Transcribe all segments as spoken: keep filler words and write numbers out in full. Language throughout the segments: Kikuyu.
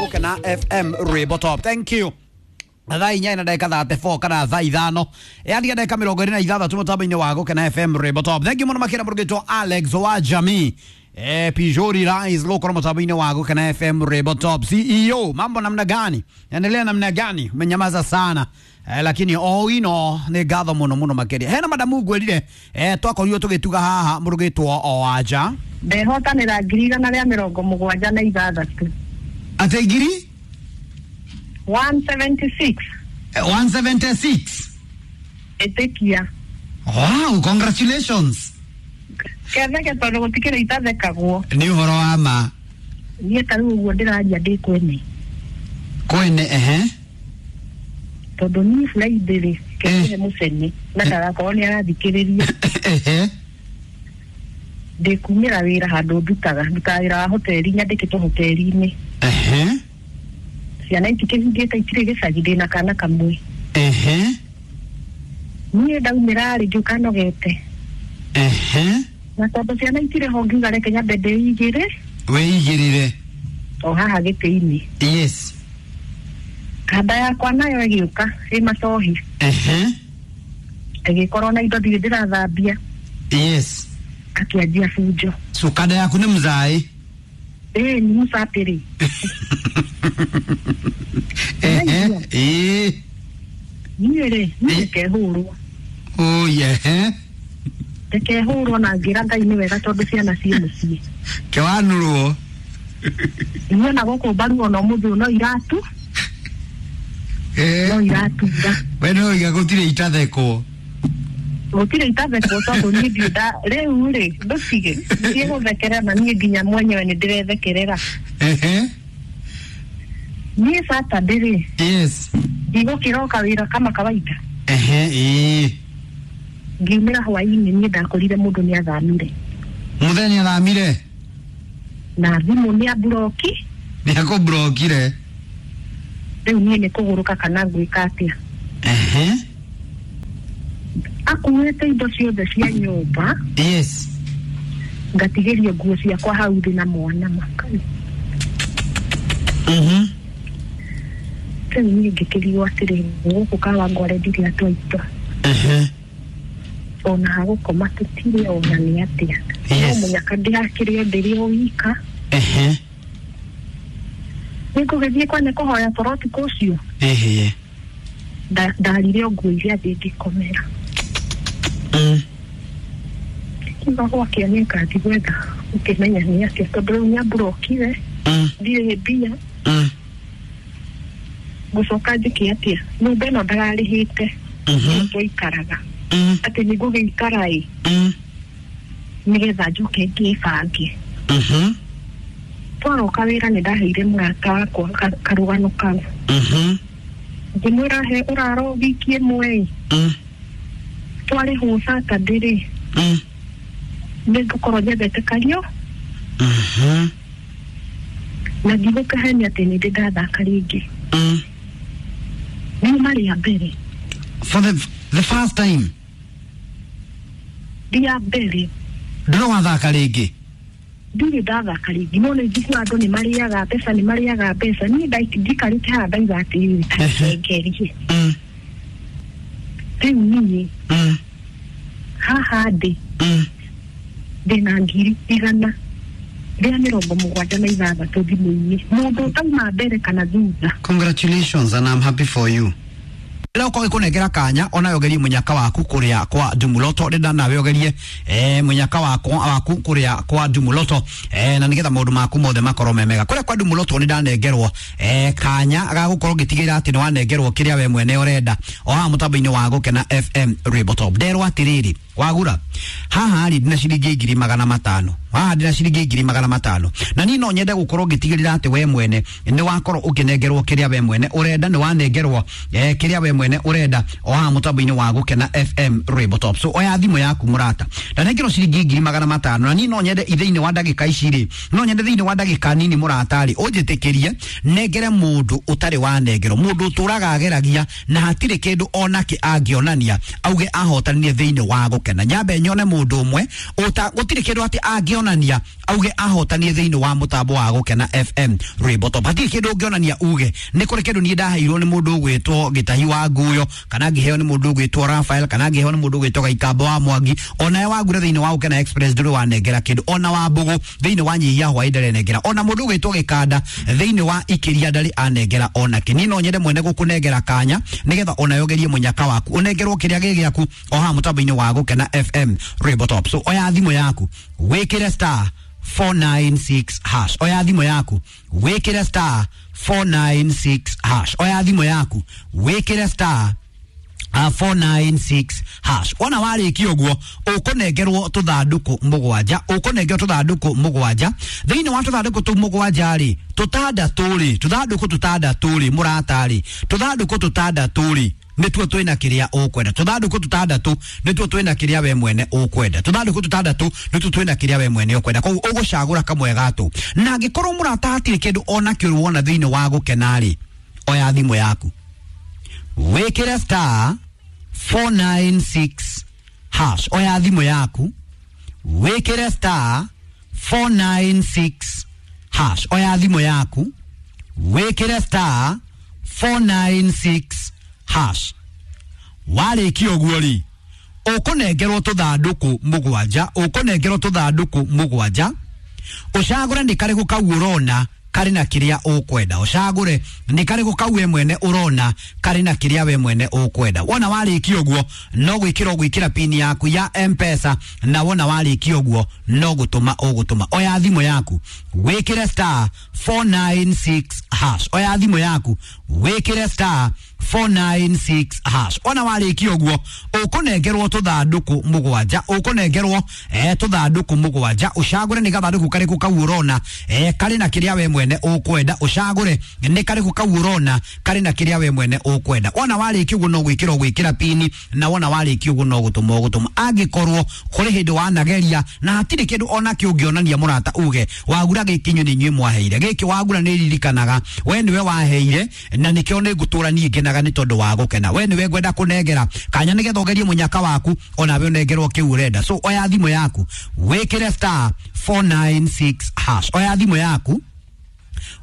Gukena F M Rwimbo Top. Thank you. Thaa inya na ndagĩka thate four kana thaa ithano yaani ndagĩka mĩrongo ĩrĩ na ithathatũ mũtambo-inĩ wa Gukena F M Rwimbo Top. Thank you mũno makĩria mũrũgĩtwo Alex wa Jamii eh, Pijori Rise gũkorwo mũtambo-inĩ wa Gukena F M Rwimbo Top. C E O, mambo namna gani? Endelea namna gani? Umenyamaza sana. Eh, lakini o ino nĩ ngatho mũno mũno makĩria. Hena madamu ngwĩrire eh, twakorirwo tũgĩtuga haha mũrũgĩtwo o aja ndehotanĩra ngiri igana rĩa mĩrongo mũgwanja na ithathatũ. Ate ngiri one seventy-six. one seventy-six. Ĩtĩkia. Wow, congratulations. Ketheke tondũ gũtikĩrĩ itathekagwo. Nĩ ũhoro wa ma. Niĩ ta rĩu ũguo ndĩraria ndĩ kwene. Kwene, ehe. Tondũ niĩ Friday rĩ, kĩhe mũcene na ndagakorwo nĩ arathikĩrĩria. Ehe. Ndĩkumĩra wĩra handũ ndutaga, ndutaga wĩra wa hoteli, nyandĩkĩtwo hoteli-inĩ. Ehe. Ciana itikĩhingĩte itirĩ gĩcagi, ndĩna kana kamwe. Ehe. Niĩ ndaumĩra rĩ ngĩũka nogete. Ehe. Na tondũ ciana itirĩ ho ngiuga reke nyambe ndĩigĩre. Wĩigĩrĩre. O haha gĩtĩ-inĩ. Yes. Kanda yakwa nayo ĩgĩũka ĩ macohi. Ehe. Ĩgĩkorwo na indo ndirĩ ndĩrathambia. Yes. Akĩanjia bunjo. So kanda yaku nĩ mzaĩ? Ĩĩ nĩ mũcapĩrĩ. Ehe. Ĩĩ. Niĩ rĩ, niĩ ndikehũrwo. Oh yeah. Ndikehũrwo na ngĩra Ngai nĩ wega tondũ ciana ciĩ mũciĩ. Kĩwanũrwo. Niĩ ona gũkũ mbaru ona ũmũthĩ ũyũ no iratu. Eh. No iratura. We no iga gũtirĩ itathekwo. Gũtirĩ itathekwo tondũ niĩ ndirĩ nda rĩu rĩ ndũtige thiĩ gũthekerera na niĩ nginya mwenyewe nĩ ndĩrethekerera. Ehe. Niĩ Saturday rĩ. Yes. Ndigũkĩroka wĩra kama kawaida. Ehe, ĩĩ. Ngiumĩra hwaĩ-inĩ niĩ ndakorire mũndũ nĩ athamire. Mũthenya athamire? Na thimũ nĩ amburoki. Nĩ akũmburokire. Rĩu niĩ nĩ kũgũrũka kana ngwĩka atĩa. Ehe. Akuĩte indo ciothe cia nyũmba. Yes. Ngatigĩrio nguo ciakwa hau thĩ na mwana makai. Mhm. Rĩu niĩ ngĩkĩrigwo atĩrĩ, gũkũ Kawangware ndirĩ andũ aitũ. Ehe. Ona hagũkoma tũtirĩ ona nĩ atĩa. Yes. No mũnyaka ndĩrakĩrĩo ndĩrĩ o wika. Ehe. Nĩngũgĩthiĩ kwene kũhoya toro ũtukũ ũcio. Ehe. Ndarire o nguo iria thĩ ngĩkomera. Mm. Kiuga gwakĩa nĩ ngathiĩ gwetha ũkĩmenya nĩ atĩa tondũ rĩu nĩamburokire. Mm. Ndirĩ mbia. Mm. Ngũcoka njĩke atĩa? Nyũmba ĩno ndararĩhĩte. Mhm. Twaikaraga. Mm. Atĩ nĩngũgĩikara ĩ. Mm. Nĩgetha njoke ngĩbange. Mhm. Twaroka wĩra nĩ ndaheire mũrata wakwa karũgano kau. Mhm. Ngĩmwĩra he ũraro wiki ĩmwe ĩ. Mm. Twarĩhwo Saturday rĩ. Mm. Nĩngũkorwo nyendete kario. Mhm. Na ndigũkĩhenia atĩ nĩ ndĩ ndathaka rĩngĩ. Mm. Riuma rĩa mbere. For the, the first time. Rĩa mbere. Ndũrĩ wathaka rĩngĩ? Ndirĩ ndathaka rĩngĩ. No nĩ njiguaga andũ nĩ marĩaga mbeca, nĩ marĩaga mbeca. Niĩ njikarĩte haha ndauga atĩrĩrĩ, ta ngerie. Mm. Rĩu niĩ. Mm. Haha ndĩ. Mm. Ndĩna ngiri igana rĩa mĩrongo mũgwanja na ithathatũ thimũ-inĩ. Mũndũ ũtauma mbere kana thutha. Congratulations and I'm happy for you. Rĩrĩa ũkorwo gĩkũnengera kanya ona ũgerie mũnyaka waku kũrĩa kwa Ndumuloto rĩnda nawe ũgerie eh, mũnyaka wakwa waku kũrĩa kwa Ndumuloto eh, na nĩgetha maũndũ maku mothe makorwo me mega. Kũrĩa kwa Ndumuloto nĩ ndanengerwo eh, kanya ga gũkorwo ngĩtigĩrĩra atĩ nĩ wanengerwo kĩrĩa we mwene ũrenda o haha mũtambo-inĩ wa Gũkena F M Rwimbo Top. Nderwo atĩrĩrĩ wagura haha rĩ ndĩna ciringi ngiri magana matano haha ndĩna ciringi ngiri magana matano na niĩ no nyende gũkorwo ngĩtigĩrĩra atĩ we mwene nĩ wakorwo ũkĩnengerwo kĩrĩa we mwene ũrenda, nĩ wanengerwo eh, kĩrĩa we mwene ũrenda o haha mũtambo-inĩ wa Gũkena F M Rwimbo Top. So oya thimũ yaku mũrata, ndanengerwo ciringi ngiri magana matano na niĩ no nyende thĩinĩ wa ndagĩka ici rĩ, no nyende thĩinĩ wa ndagĩka nini mũrata rĩ ũnjĩtĩkĩrie nengere mũndũ ũtarĩ wanengerwo, mũndũ ũtũraga ageragia na hatirĩ kĩndũ onake angĩonania auge ahotanire thĩinĩ wa Gũkena gũkena. Nyambe nyone mũndũ ũmwe ũta gũtirĩ kĩndũ atĩ angĩonania auge ahotanie thĩinĩ wa mũtambo wa Gũkena F M Rainbow Top. Hatirĩ kĩndũ ũngĩonania uge nĩ kũrĩ kĩndũ niĩ ndaheirwo nĩ mũndũ ũgwĩtwo Gĩtahi wa Nguyo, kana ngĩheo nĩ mũndũ ũgwĩtwo Rafael, kana ngĩheo nĩ mũndũ ũgwĩtwo Gaikambo wa Mwangi. Onawe wagura thĩinĩ wa Gũkena Express ndũrĩ wanengera kĩndũ, ona wa Mbũgũ thĩinĩ wa Nyihia Hwaĩ ndarĩ anengera, ona mũndũ ũgwĩtwo Gĩkanda thĩinĩ wa Ikĩria ndarĩ anengera ona kĩ. Niĩ no nyende mwene gũkũnengera kanya nĩgetha onawe ũgerie mũnyaka waku, ũnengerwo kĩrĩa gĩ gĩaku o haha mũtambo-inĩ wa Gũkena F M Rainbow Top. So oya thimũ yaku wĩkĩre star four nine six hash. Oya thimũ yaku wĩkĩre star four nine six hash. Oya thimũ yaku wĩkĩre star Uh, four nine six hash. Wona warĩkia ũguo ũkũnengerwo tũthandũkũ mũgwanja, ũkũnengerwo tũthandũkũ mũgwanja. Thĩinĩ wa tũthandũkũ tũu mũgwanja rĩ, tũtandatũ rĩ, tũthandũkũ tũtandatũ rĩ, mũrata rĩ, tũthandũkũ tũtandatũ rĩ, nĩtuo twĩna kĩrĩa ũkwenda. Tũthandũkũ tũtandatũ nĩtuo twĩna kĩrĩa we mwene ũkwenda. Tũthandũkũ tũtandatũ nĩtuo twĩna kĩrĩa we mwene ũkwenda. Koguo ũgũcagũra kamwe gatũ. Na angĩkorwo mũrata hatirĩ kĩndũ ona kĩũru wona thĩinĩ wa Gũkena rĩ, oya thimũ yaku wĩkĩre star four nine six hash. Oya thimũ yaku wĩkĩre star four nine six hash. Oya thimũ yaku wĩkĩre star four nine six hash. Warĩkia ũguo rĩ, ũkũnengerwo tũthandũkũ mũgwanja, ũkũnengerwo tũthandũkũ mũgwanja. Ũcagũre nĩ karĩkũ kau ũrona karĩ na kĩrĩa ũkwenda. Ũcagũre nĩ karĩkũ kau we mwene ũrona karĩ na kĩrĩa we mwene ũkwenda. Wona warĩkia ũguo no gwĩkĩra ũgwĩkĩra pin yaku ya M-Pesa, na wona warĩkia ũguo no gũtũma ũgũtũma. Oya thimũ yaku wĩkĩre star four nine six hash. Oya thimũ yaku wĩkĩre star four nine six hash. Wona warĩkia ũguo ũkũnengerwo tũthandũkũ mũgwanja, ũkũnengerwo eh tũthandũkũ mũgwanja. Ũcagũre nĩ gathandũkũ karĩkũ kau ũrona eh karĩ na kĩrĩa we mwene ũkwenda. Ũcagũre nĩ karĩkũ kau ũrona karĩ na kĩrĩa we mwene ũkwenda. Wona warĩkia ũguo no gwĩkĩra ũgwĩkĩra pini, na wona warĩkia ũguo no gũtũma ũgũtũma. Angĩkorwo kũrĩ hĩndĩ wanageria na hatirĩ kĩndũ ona kĩ ũngĩonania mũrata uge wagura gĩkĩ inyuĩ nĩ inyuĩ mwaheire, gĩkĩ wagura nĩ ririkanaga we nĩwe waheire na nĩkĩo nĩ ngũtũra niĩ ngenaga nĩ tondũ wa gũkena, we nĩwe ngwenda kũnengera kanya nĩgetha ũgerie mũnyaka waku onawe ũnengerwo kĩu ũrenda. So oya thimũ yaku wĩkĩre star four nine six hash. Oya thimũ yaku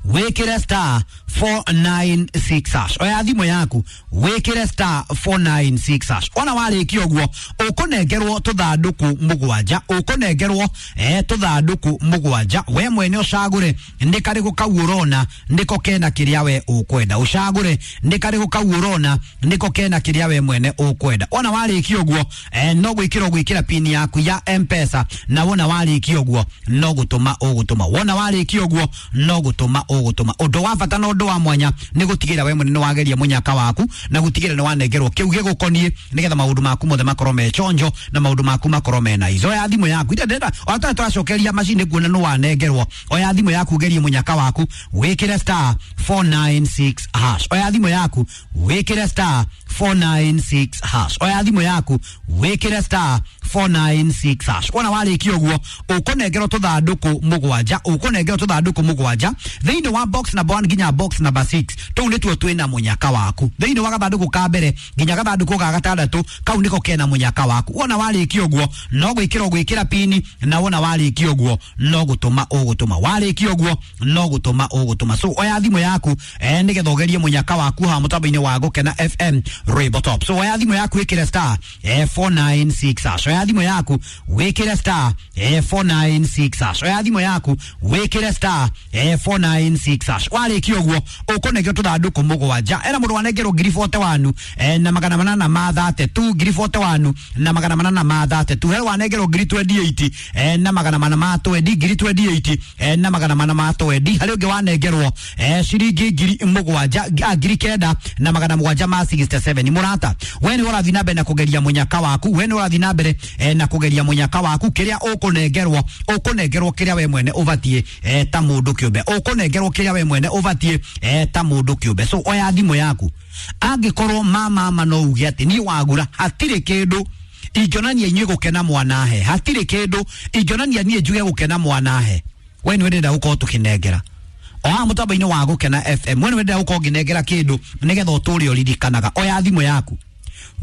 wĩkĩre star four nine six hash. Oya thimũ yaku wĩkĩre star four nine six hash. Ona warĩkia ũguo ũkũnengerwo tũthandũkũ mũgwanja, ũkũnengerwo eh tũthandũkũ mũgwanja. We mwene ũcagũre nĩ karĩkũ kau ũrona nĩko kena kĩrĩa we ũkwenda. Ũcagũre nĩ karĩkũ kau ũrona nĩko kena kĩrĩa we mwene ũkwenda. Ona warĩkia ũguo eh no gwĩkĩra ũgwĩkĩra pin yaku ya M-Pesa, na wona warĩkia ũguo no gũtũma ũgũtũma. Wona warĩkia ũguo no gũtũma ũgũtũma. Ũndũ wa bata na ũndũ wa mwanya nĩ gũtigĩrĩra we mwene nĩ wageria mũnyaka waku na gũtigĩrĩra nĩ wanengerwo kĩu gĩgũkoniĩ nĩgetha maũndũ maku mothe makorwo me chonjo na maũndũ maku makorwo me nice. Oya thimũ yaku ida ndenda ona tũracokeria macini kuona nĩ wanengerwo. Oya thimũ yaku gerie mũnyaka waku wĩkĩre star four nine six hash. Oya thimũ yaku wĩkĩre star four nine six hash. Oya thimũ yaku wĩkĩre star four nine six hash. Wona warĩkia ũguo ũkũnengerwo tũthandũkũ mũgwanja, ũkũnengerwo tũthandũkũ mũgwanja thĩinĩ wa box number one nginya box number six. Tũu nĩtuo twĩna mũnyaka waku. Thĩinĩ wa gathandũkũ ka mbere nginya gathandũkũ ga gatandatũ kau nĩko kena mũnyaka waku. Wona warĩkia ũguo no gwĩkĩra ũgwĩkĩra pini, na wona warĩkia ũguo no gũtũma ũgũtũma. Warĩkia ũguo no gũtũma ũgũtũma. So oya thimũ yaku eh nĩgetha ũgerie mũnyaka waku haha mũtambo-inĩ wa Gũkena F M Rainbow Top. So oya thimũ yaku wĩkĩre star eh four nine six hash. Oya thimũ yaku wĩkĩre star eh four nine six hash. Oya thimũ yaku wĩkĩre star eh four nine six hash. Warĩkia ũguo ũkũnengerwo tũthandũkũ mũgwanja. Era mũndũ wanengerwo ngiri forty one eh na magana manana ma thate tu, ngiri forty one na magana manana ma thate tu. He wanengerwo ngiri twenty eight eh na magana mana ma twenty, ngiri twenty eight eh na magana mana ma twenty. Harĩ ũngĩ wanengerwo eh ciringi ngiri mũgwanja, ngiri kenda na magana mũgwanja ma sixty seven. Mũrata we nĩ ũrathiĩ na mbere na kũgeria mũnyaka waku, we nĩ ũrathiĩ na mbere eh na kũgeria mũnyaka waku. Kĩrĩa ũkũnengerwo ũkũnengerwo kĩrĩa we mwene ũbatiĩ eh ta mũndũ kĩũmbe, ũkũnengerwo kĩrĩa we mwene ũbatiĩ eh ta mũndũ kĩũmbe. So oya thimũ yaku angĩkorwo mama mama no uge atĩ niĩ wagura hatirĩ kĩndũ ingĩonania inyuĩ gũkena mwanahe, hatirĩ kĩndũ ingĩonania niĩ njuge gũkena mwanahe, we nĩ wendenda gũkorwo tũkĩnengera o haha mũtambo-inĩ wa Gũkena F M. We nĩ wendenda gũkorwo ngĩnengera kĩndũ nĩgetha ũtũre ũririkanaga. Oya thimũ yaku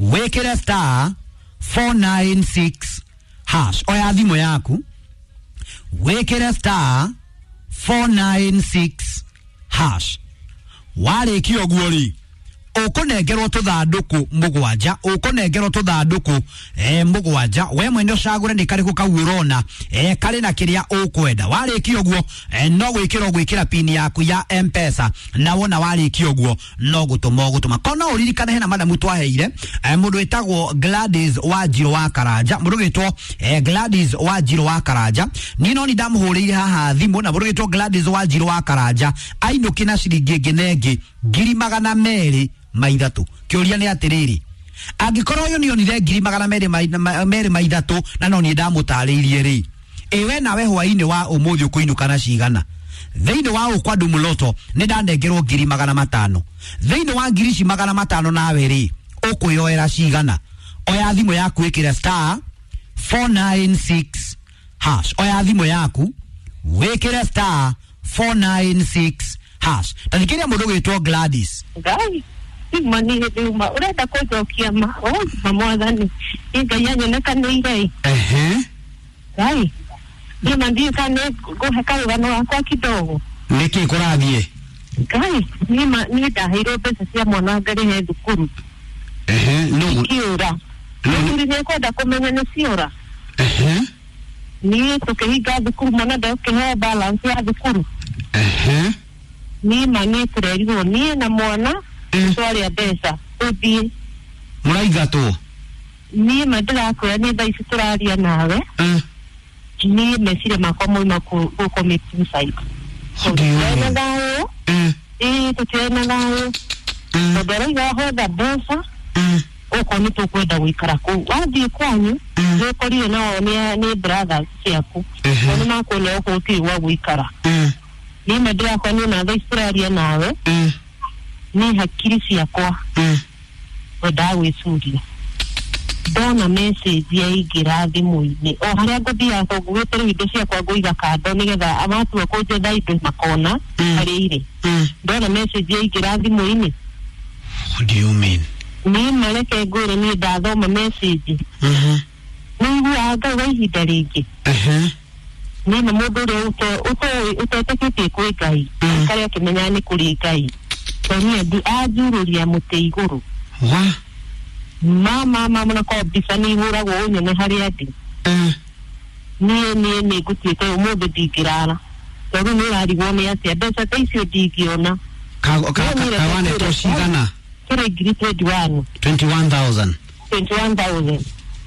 wĩkĩre star four nine six hash. Oya thimũ yaku wĩkĩre star four nine six hash. Warĩkia ũguo rĩ, ũkũnengerwo tũthandũkũ mũgwanja, ũkũnengerwo tũthandũkũ eh, mũgwanja. We mwene ũcagũre nĩ karĩkũ kau ũrona eh, karĩ na kĩrĩa ũkwenda. Warĩkia ũguo eh, no gwĩkĩra ũgwĩkĩra pini yaku ya M-Pesa, na wona warĩkia ũguo no gũtũma ũgũtũma. Kona ũririkane hena madamu twaheire eh, mũndũ wĩtagwo Gladys Wanjirũ wa Karanja, mũndũ wĩtwo eh, Gladys Wanjirũ wa Karanja. Niĩ no nĩ ndamũhũrĩire haha thimũ, na mũndũ wĩtwo Gladys Wanjirũ wa Karanja ainũki na ciringi ĩngĩ na ĩngĩ ngiri magana merĩ ma ithatũ. Kĩũria nĩ atĩrĩrĩ, angĩkorwo ũyũ nĩonire ngiri magana merĩ ma- merĩ ma ithatũ na no niĩ ndamũtarĩirie rĩ, ĩ we nawe hwainĩ wa ũmũthĩ ũkũinũka na cigana? Thĩinĩ wa ũkwa Ndumuloto nĩ ndanengerwo ngiri magana matano. Thĩinĩ wa ngiri ici magana matano nawe rĩ, ũkwĩyoera cigana? Oya thimũ yaku ĩkĩre star four nine six hash. Oya thimũ yaku wĩkĩre star four nine six hash. Ta thikĩrĩria mũndũ ũgwĩtwo Gladys. Ngai ima nĩ hĩndĩ uma ũrenda kũnjokia ma ma mwathani nĩ Ngai anyonekanĩire. Ehe. Ngai niĩ ndiũĩ kana nĩ ngũhe karũgano gakwa kidogo. Nĩkĩ kũrathiĩ? Ngai niĩ ma niĩ ndaheirwo mbeca cia mwana ngarĩhe thukuru. Ehe, no. Ciũra. No. Thukuru nĩ kwenda kũmenya nĩ ciũra. Ehe. Niĩ tũkĩhinga thukuru, mwana ndakĩheo balance ya thukuru. Ehe. Niĩ ma niĩ tũrerirwo niĩ na mwana Mm. twarĩa mbeca tũthiĩ. Mũraingatwo? Niĩ ma ndĩrakwĩra nĩ thaa ici tũraria nawe, Eh. niĩ meciria makwa moima kũ kũ commit suicide. What do you Tũtirĩ na mean? thayũ. Eh. Ĩĩ, tũtirĩ na thayũ Eh. tondũ arauga hotha mbeca Eh. okorwo nĩ tũkwenda gũikara kũu wathiĩ kwanyu Mm. nĩ ũkorire nao nĩ nĩ brothers ciaku Ehe. nao nĩ makuona okorwo gũtirĩ gwa gũikara. Eh. Niĩ ma ndĩrakwa niĩ na thaa ici tũraria nawe, Eh. niĩ hakiri ciakwa Eh. wendaga gwĩcuria ndona message yaingĩra thimũ-inĩ o harĩa ngũthiaga tondũ ngugĩte rĩu indo ciakwa ngũiga kando nĩgetha matua kũnjetha indo makona Mm. harĩa irĩ. Eh. Ndona message yaingĩra thimũ-inĩ. What do you mean? Niĩ mareke ngwĩre niĩ ndathoma message Mhm. nĩ iguaga ngauga ihinda rĩngĩ Ehe. niĩ na mũndũ ũrĩa ũte- ũtoĩ- ũtetĩkĩtie kwĩ Ngai Mm. karĩa akĩmenyaga nĩ kũrĩ Ngai tondũ niĩ anjurũria mũtĩ igũrũ. Wa? Mama mama na kwa mbica nĩ ihũragwo ũnyone harĩa ndĩ. Eh. Niĩ niĩ nĩ ngũtuĩte ũmũthĩ ndingĩrara tondũ nĩ ũrarigwo nĩ atĩa mbeca ta icio ndingĩona. Ka ka Niĩ ka kawanetwo cigana? Kĩrĩ ngiri twenty one. twenty-one thousand. Twenty one thousand.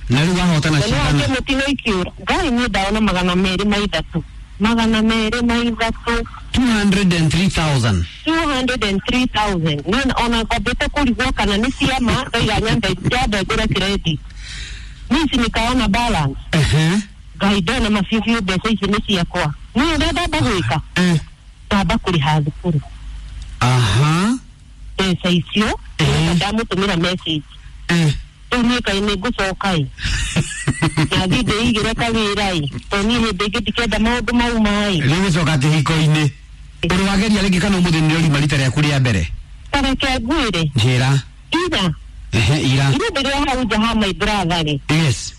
Na rĩu wahotana Na nĩ cigana? wake mũtino ikiũra. Ngai, niĩ ndaona magana merĩ ma ithatũ, magana merĩ ma ithatũ. two hundred and three thousand. Two hundred and three thousand. Niĩ ona kwambĩte kũrigwo kana nĩ ciama ndaiga nyambe nyambe ngũre credit niĩ ici nikaona balance. Ehe. Ngai, ndona mabiũ mbeca ici nĩ ciakwa. Niĩ ũrĩa ndamba gwĩka, Eh. ndamba kũrĩha thukuru Aha. mbeca icio. Eh. Ndamũtũmĩra message. Eh. Rĩu niĩ kaĩ nĩ ngũcoka ĩ na thiĩ ndĩigĩre kawĩra ĩ tondũ niĩ hĩndĩ ĩngĩ ndikenda maũndũ mau maĩ. Rĩu gũcoka kĩhiko-inĩ. Ũrĩ wageria rĩngĩ kana ũmũthĩ nĩ ũrima rita rĩaku rĩa mbere? Tareke ngwĩre. Njĩra. Ira. Ehe, ira. Ira ndĩrĩ o hau nja ha my brother rĩ, Yes.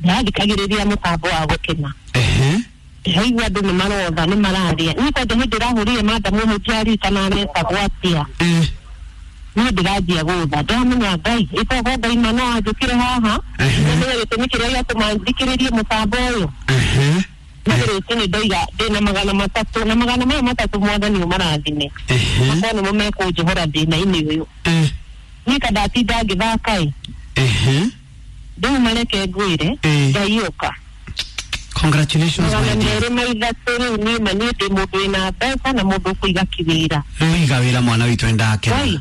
ndĩrathikagĩrĩria mũtambo wa gũkena. Ehe. Ndĩraigua andũ nĩ marotha nĩ mararia. Niĩ kwanja hĩndĩ ĩrahũrire madamu ũmwe ndiaririkana aretagwo atĩa. Eh. Niĩ ndĩranjia gũtha ndĩramenya Ngai ĩkorwo Ngai ma no anjũkĩre haha Ehe. nĩmenya gĩtũmi kĩrĩa gĩatũma thikĩrĩrie mũtambo ũyũ. Ehe. Niĩ rũcinĩ ndoiga ndĩna magana matatũ na magana maya matatũ mwathani ũmarathime. Ehe. Makorwo nĩmo mekũnjohora thĩna-inĩ ũyũ. Eh. Niĩ kandatinda ngĩthaka ĩ. Ehe. Rĩu mareke ngwĩre. Eh. Ngai ũka. Congratulations, magana my dear. merĩ ma ithatũ. Rĩu niĩ ma niĩ ndĩ mũndũ wĩna mbeca na mũndũ ũkũiga kĩwĩra. Rĩu iga wĩra mwana witũ nĩndakena. Ngai.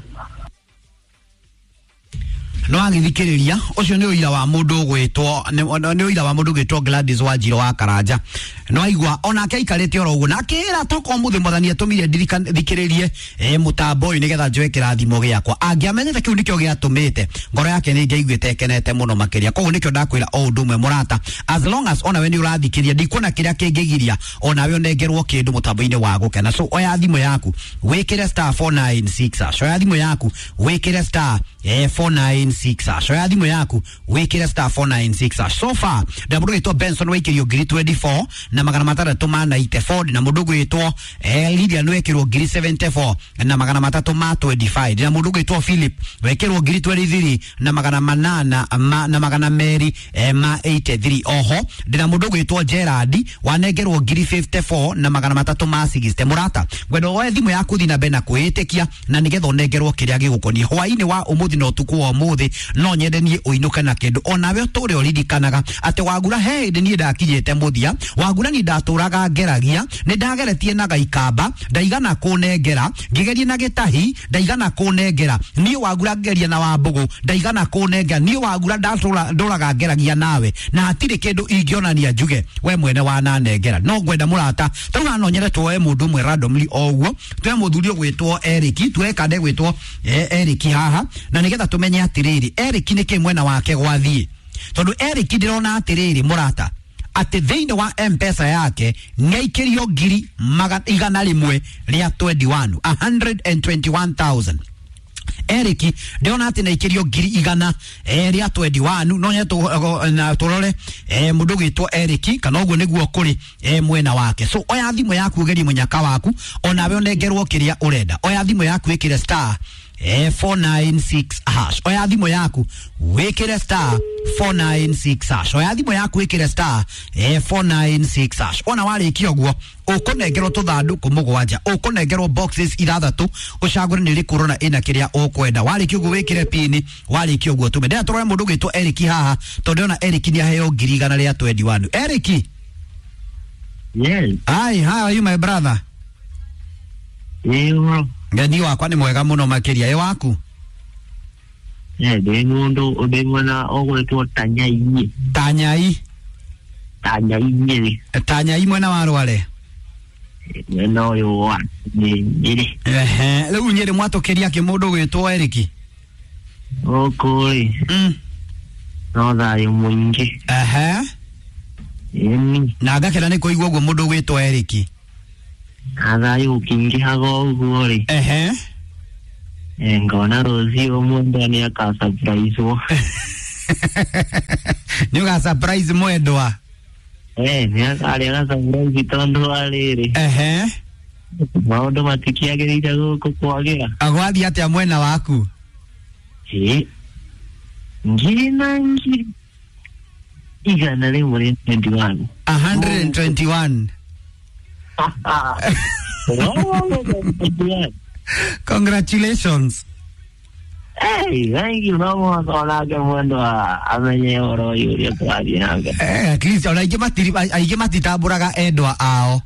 No agithikĩrĩria ũcio nĩ ũira wa mũndũ ũgwĩtwo nĩ nĩ ũira wa mũndũ ũgwĩtwo Gladys Wanjirũ wa Karanja. No aigua onake aikarĩte oro ũguo na akĩra toka ũmũthĩ mwathani atũmire ndirikane thikĩrĩrie eh, mũtambo ũyũ nĩgetha njoe kĩrathimo gĩakwa. Angĩamenyete kĩu nĩkĩo gĩatũmĩte ngoro yake nĩ ingĩaiguĩte ĩkenete mũno makĩria. Koguo nĩkĩo ndakwĩra o ũndũ ũmwe mũrata, as long as onawe nĩ ũrathikĩria, ndikuona kĩrĩa kĩngĩgiria onawe ũnengerwo kĩndũ mũtambo-inĩ wa gũkena. So oya thimũ yaku wĩkĩre star four nine six hash. Oya thimũ yaku wĩkĩre star eh, four nine six. six hash. Oya thimũ yaku wĩkĩre star four nine six hash. So far ndĩna mũndũ ũgwĩtwo Benson waikĩrio ngiri twenty four na magana matandatũ ma ninety four. Ndĩna mũndũ ũgwĩtwo eh, Lilian wekĩrwo ngiri seventy four na magana matatũ ma twenty five. Ndĩna mũndũ ũgwĩtwo Philip wekĩrwo ngiri twenty three na magana manana ma, na magana merĩ eh, ma eighty three. Oho ndĩna mũndũ ũgwĩtwo Gerard wanengerwo ngiri fifty four na magana matatũ ma sixty. Mũrata, ngwenda woe thimũ yaku thiĩ na mbere na kwĩĩtĩkia na nĩgetha ũnengerwo kĩrĩa gĩgũkoniĩ hwaĩ-inĩ wa ũmũthĩ na ũtukũ wa ũmũthĩ. No nyende niĩ ũinũke na kĩndũ onawe ũtũre ũririkanaga atĩ Wagura he hĩndĩ niĩ ndakinyĩte mũthia. Wagura niĩ ndatũraga ngeragia, nĩ ndageretie na gaikamba ndaigana kũnengera, ngĩgeria na gĩtahi ndaigana kũnengera, niĩ Wagura ngeria na Wambũgũ ndaigana kũnengera, niĩ Wagura ndatũra ndũraga ngeragia nawe na hatirĩ kĩndũ ingĩonania njuge we mwene wananengera. No ngwenda mũrata tarĩu no nyende tuoe mũndũ ũmwe randomly o ũguo, tuoe mũthuri ũgwĩtwo Eric, tuoe kande gwĩtwo eh, Eric haha, na nĩgetha tũmenye atĩrĩrĩ Eric nĩkĩ mwena wake gwathiĩ, tondũ Eric ndĩrona atĩrĩrĩ mũrata atĩ thĩinĩ wa M-Pesa yake nĩaikĩrio ngiri maga- igana rĩmwe rĩa twenty one, a hundred and twenty one thousand. Eric ndĩrona atĩ nĩaikĩrio ngiri igana eh, rĩa twenty one. No nyende tũ- na tũrore eh, mũndũ ũgwĩtwo Eric kana ũguo nĩguo kũrĩ eh, mwena wake. So oya thimũ yaku ũgerie mũnyaka waku onawe ũnengerwo kĩrĩa ũrenda. Oya thimũ yaku ĩkĩre star eh, four nine six hash. Oya thimũ yaku wĩkĩre star four nine six hash. Oya thimũ yaku wĩkĩre star eh, four nine six hash. Ona warĩkia ũguo ũkũnengerwo tũthandũkũ mũgwanja, ũkũnengerwo boxes ithathatũ, ũcagũre nĩ ĩrĩkũ ũrona ĩna kĩrĩa ũkwenda. Warĩkia ũguo wĩkĩre pini, warĩkia ũguo tũme. Ndĩrenda tũrore mũndũ ũgwĩtwo Eric haha tondũ ndĩrona Eric nĩ aheo ngiri igana rĩa twenty one. Eric, Yes, hi, how are you my brother? ĩyo Ngeni wakwa nĩ mwega mũno makĩria, ĩ waku? eh ndĩ mũndũ ndĩ mwena ũgwĩtwo Tanyai. Tanyai, Tanyai Nyĩrĩ. Tanyai mwena wa Rware. Mwena ũyũ wa nĩ Nyĩrĩ. Ehe, rĩu Nyĩrĩ mwatũkĩria kĩ mũndũ ũgwĩtwo Eric? Gũkũ rĩ Mm. no thayũ mũingĩ. Ehe, Ĩni na ngakena nĩ kũigua ũguo mũndũ ũgwĩtwo Eric. na thayũ ũkĩingĩhaga ũguo rĩ, Ehe. eh, ngona rũciũ mwendwa nĩ akasurprise-wo. Nĩ ũga surprise mwendwa. Eh, nĩ akarĩa ga surprise tondũ wa rĩrĩ Ehe. maũndũ matikĩagĩrĩire gũkũ kwagĩra. Agwathiĩ atĩa mwena waku? Ĩ ngiri na ngiri igana rĩmwe rĩa twenty one. A hundred and twenty one. Congratulations. Hey, thank you. No mũhaka onake mwendwa amenye ũhoro ũyũ ũrĩa tũrathiĩ na mbere. Eh, at least ona aingĩ matiri aingĩ matitambũraga endwa ao.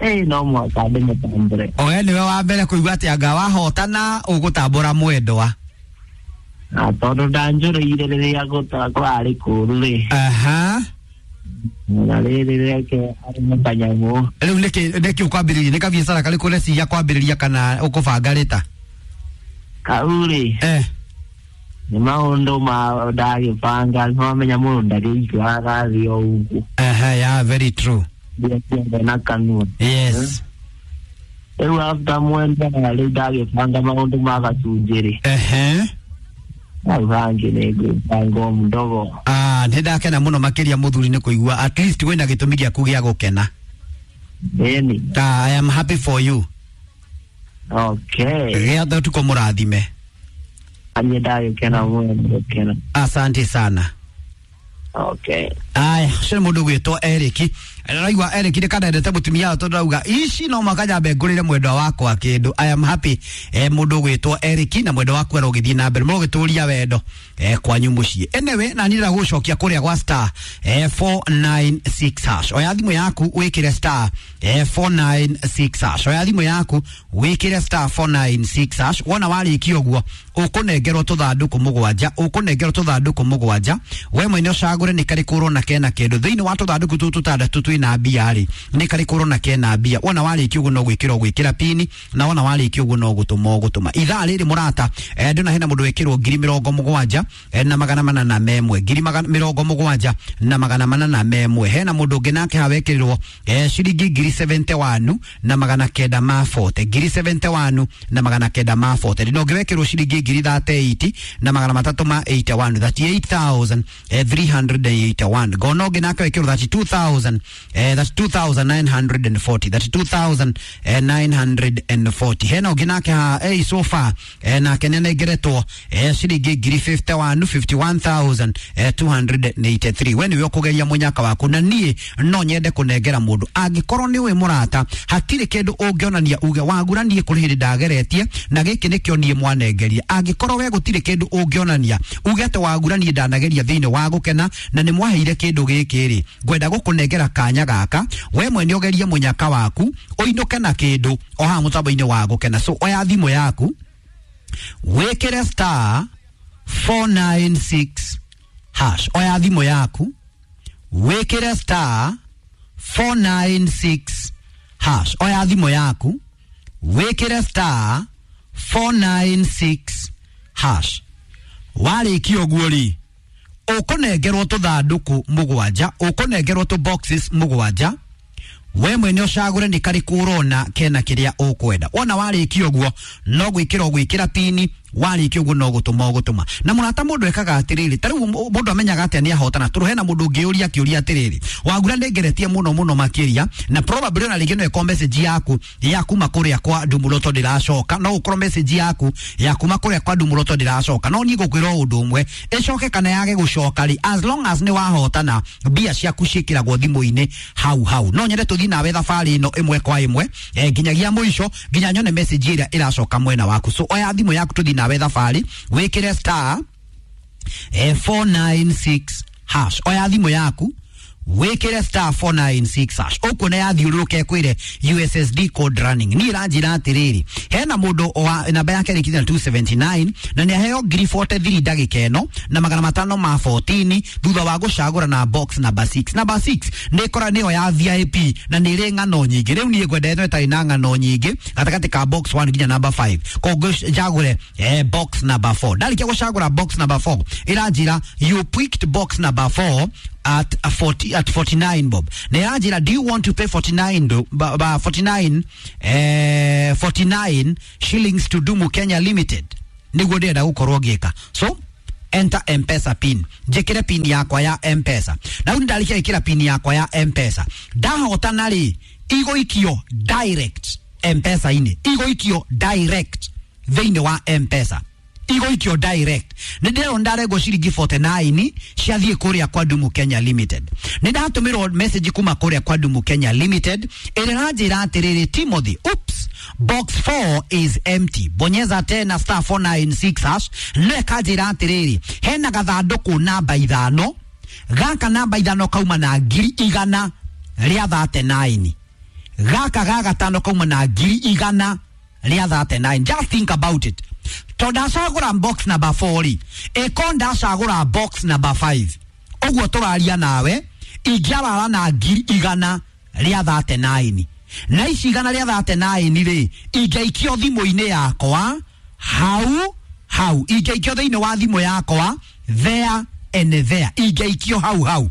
Hey, no mũhaka ndĩmũtambũre. Owe nĩwe wa mbere kũigua atĩ anga wahotana ũgũtambũra mwendwa. Na tondũ ndanjũrĩire rĩrĩa gũta kũrarĩ kũũru rĩ, Aha. na rĩrĩ rĩake arĩ kanyamũ. Rĩu nĩkĩ nĩkĩ ũkwambĩrĩria, nĩ kabiacara karĩkũ ũreciria kwambĩrĩria kana ũkũbanga rĩta? Kau rĩ, Eh. nĩ maũndũ ma ndagĩbanga, nĩwamenya mũndũ ndagĩikaraga agathiĩ o ũguo. Aha, yeah, very true. Mbia ciothe na kanua. Yes. Rĩu after mwendwa rĩu ndagĩbanga maũndũ ma gacunjĩ rĩ, Ehe. hau hangĩ nĩ ngwĩbanga o mdogo. Ah, nĩ ndakena mũno makĩria mũthuri nĩ kũigua at least wĩna gĩtũmi gĩaku gĩa gũkena. Ĩni. Ah, I am happy for you. Okay. Gĩa ũtukũ mũrathime. Niĩ ndagĩkena mũno gũkena. Asante sana. Okay. Aya, ũcio nĩ mũndũ ũgwĩtwo Eric. Ndĩraigua Eric nĩ kanendete mũtumia wao tondũ arauga ici no mũhaka nyambe ngũrĩre mwendwa wakwa kĩndũ. I am happy eh, mũndũ ũgwĩtwo Eric na mwendwa waku arogĩthiĩ na mbere mũrogĩtũria wendo eh, kwanyu mũciĩ. Anyway, na niĩ ndĩrenda gũgũcokia kũrĩa gwa star eh, four nine six hash. Oya thimũ yaku wĩkĩre star eh, four nine six hash. Oya thimũ yaku wĩkĩre star four nine six hash. Wona warĩkia ũguo ũkũnengerwo tũthandũkũ mũgwanja, ũkũnengerwo tũthandũkũ mũgwanja. We mwene ũcagũre nĩ karĩkũ ũrona kena kĩndũ thĩinĩ wa tũthandũkũ tũtũ tũtandatũ twĩ twina mbia rĩ, nĩ karĩkũ ũrona kena mbia. Wona warĩkia ũguo no gwĩkĩra ũgwĩkĩra pini, na wona warĩkia ũguo no gũtũma ũgũtũma. Ithaa rĩrĩ mũrata, eh, ndĩna hena mũndũ wĩkĩrwo ngiri mĩrongo mũgwanja eh, na magana mana na memwe, ngiri magana mĩrongo mũgwanja na magana mana na memwe. Hena mũndũ ũngĩ nake hawekĩrirwo eh, ciringi ngiri seventy-one na magana kenda ma forty, ngiri seventy-one na magana kenda ma forty. Ndĩna ũngĩ wekĩrwo ciringi ngiri thirty-eight na magana matatũ ma eighty-one, thirty-eight thousand three hundred eighty-one. Ngona ũngĩ nake wekĩrwo thirty-two thousand, eh, thirty-two thousand nine hundred forty, thirty-two thousand nine hundred forty. Hena ũngĩ nake ha eh, so far eh, nake nĩanengeretwo eh, ciringi ngiri fifty-one, fifty-one thousand two hundred eighty-three. We nĩwe ũkũgeria mũnyaka waku, na niĩ no nyende kũnengera mũndũ angĩkorwo nĩ ũĩ mũrata hatirĩ kĩndũ ũngĩonania uge wagura niĩ kũrĩ hĩndĩ ndageretie na gĩkĩ nĩkĩo niĩ mwanengeria. Angĩkorwo we gũtirĩ kĩndũ ũngĩonania uge atĩ wagura niĩ ndanageria thĩinĩ wa gũkena na nĩ mwaheire kĩndũ gĩkĩ rĩ, ngwenda gũkũnengera kanya gaka we mwene ũgerie mũnyaka waku ũinũke na kĩndũ o haha mũtambo-inĩ wa gũkena. So oya thimũ yaku wĩkĩre star four nine six hash. Oya thimũ yaku wĩkĩre star four nine six hash. Oya thimũ yaku wĩkĩre star four nine six hash. Warĩkia ũguo rĩ, ũkũnengerwo tũthandũkũ mũgwanja, ũkũnengerwo tũ boxes mũgwanja, we mwene ũcagũre nĩ karĩkũ ũrona kena kĩrĩa ũkwenda. Wona warĩkia ũguo no gwĩkĩra ũgwĩkĩra pini, warĩkia ũguo no gũtũma ũgũtũma. Na mũrata mũndũ ekaga atĩrĩrĩ, ta rĩu mũndũ amenyaga atĩa nĩ ahotana? Tondũ hena mũndũ ũngĩũria kĩũria atĩrĩrĩ, wagura nĩngeretie mũno mũno makĩria, na probably ona rĩngĩ no ĩkorwo message yaku ya kuma kũrĩa kwa Ndumuroto ndĩracoka, no ũkorwo message yaku ya kuma kũrĩa kwa Ndumuroto ndĩracoka. No niĩ ngũkwĩra o ũndũ ũmwe, ĩcoke kana yage gũcoka rĩ, as long as nĩ wahotana mbia ciaku ciĩkĩragwo thimũ-inĩ hau hau. No nyende tũthiĩ nawe thabarĩ ĩno ĩmwe kwa ĩmwe eh, nginyagia mũico, nginya nyone message ĩrĩa ĩracoka mwena waku. So oya thimũ yaku tũthiĩ nawe thabarĩ, wĩkĩre star eh, four nine six hash. Oya thimũ yaku wĩkĩre star four nine six hash. Ũkuona yathiũrũrũka ĩkwĩre U S S D code running. Niĩ ĩranjĩra atĩrĩrĩ, hena mũndũ wa namba yake ĩrĩkĩtie na two seventy-nine na nĩ aheo ngiri forty-three ndagĩka ĩno na magana matano ma fourteen thutha wa gũcagũra na box number six. Number six nĩ ĩkora nĩyo ya V I P na nĩ ĩrĩ ng'ano nyingĩ. Rĩu niĩ ngwenda ĩno ĩtarĩ na ng'ano nyingĩ gatagatĩ ka box one nginya number five. Koguo njagũre eh, box number four. Ndarĩkia gũcagũra box number four, ĩranjĩra you picked box number four at forty, at forty-nine bob. Na ĩranjĩra do you want to pay forty-nine do, ba, ba, forty-nine, eh, forty-nine shillings to Dumu Kenya Limited? Nĩguo ndĩrenda gũkorwo ngĩka. So enter M-Pesa pin, njĩkĩre pin yakwa ya M-Pesa. Na rĩu ndarĩkia gwĩkĩra pin yakwa ya M-Pesa, ndahotana rĩ, igũikio direct M-Pesa-inĩ, igũikio direct thĩinĩ wa M-Pesa, igũikio direct. Nĩ ndĩrona ndarengwo ciringi forty-nine ciathiĩ kũrĩa kwa Dumu Kenya Limited. Nĩ ndatũmĩrwo message kuma kũrĩa kwa Dumu Kenya Limited ĩrĩa ĩranjĩra atĩrĩrĩ, Timothy, oops, box four is empty, bonyeza tena star four nine six hash. No ĩkanjĩra atĩrĩrĩ, hena gathandũkũ namba ithano, gaka namba ithano kauma na ngiri igana rĩa thirty-nine, gaka ga gatano kauma na ngiri igana rĩa thirty-nine. Just think about it. To ndacagũra box number four rĩ, ĩko ndacagũra box number five, ũguo tũraria nawe ingĩarara na ngiri igana rĩa thirty-nine, na ici igana rĩa thirty-nine rĩ, ingĩaikio thimũ-inĩ yakwa hau hau, ingĩaikio thĩinĩ wa thimũ yakwa there and there, ingĩaikio hau hau.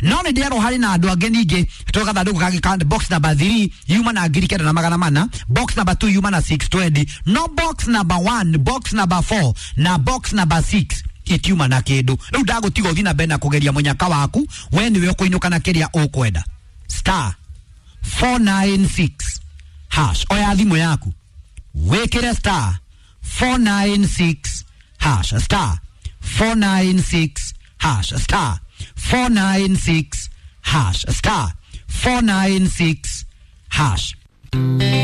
No nĩ ndĩrerwo harĩ na andũ angĩ ningĩ tũ gathandũkũ kangĩ ka box number three yuma na ngiri kenda na magana mana, box number two yuma na six twenty, no box number one, box number four na box number six itiuma na kĩndũ. Rĩu ndagũtiga ũthiĩ na mbere na kũgeria mũnyaka waku, we nĩwe ũkũinũka na kĩrĩa ũkwenda. Star four nine six hash. Oya thimũ yaku wĩkĩre star four nine six hash, star four nine six hash, star four nine six hash, star four nine six hash.